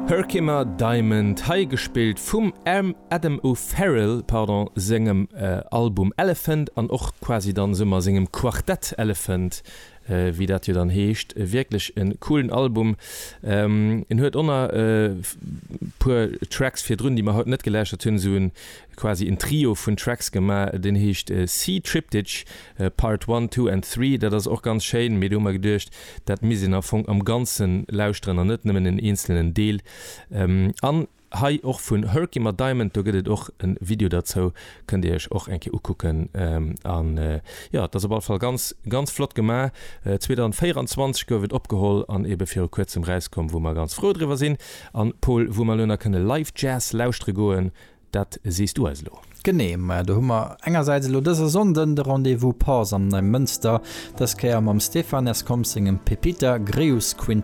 Herkimer Diamond, hei gespillt vum Adam O'Farrill, pardon, sengem Album Elephant an och quasi dann esou mat sengem Quartett Elephant, wéi dat jo dann heescht. Wierklech en coolen Album. En huet och nach e puer Tracks virdrun, déi mer haut net gelauschtert hunn, esou en quasi en Trio vun Tracks gemaach, deen heescht Sea Triptych Part One, Two and Three. Dat ass och ganz schéin, mee do hu mer geduecht, dat misst een am Fong am Ganzen lauschteren an net nëmmen en eenzelnen Deel. An hei och vun Herkimer Diamond, do gëtt et och e Video derzou, kënnt Dir Iech och eng Kéier ukucken. An jo, et ass op alle Fall ganz, ganz flott gemaach. 2024 gouf et opgeholl an ebe viru kuerzem rauskomm, wou mer ganz frou driwwer sinn. An Paul, wou mer elo nach kënne Live Jazz lauschtere goen, Dat sees du eis elo. Genee, maja do hu mer engersäits elo dëse Sonnden de Rendez-vous Pause am Neimënster, dës Kéier mam Stéphane Escoms sengem Pepita Greus Quintett.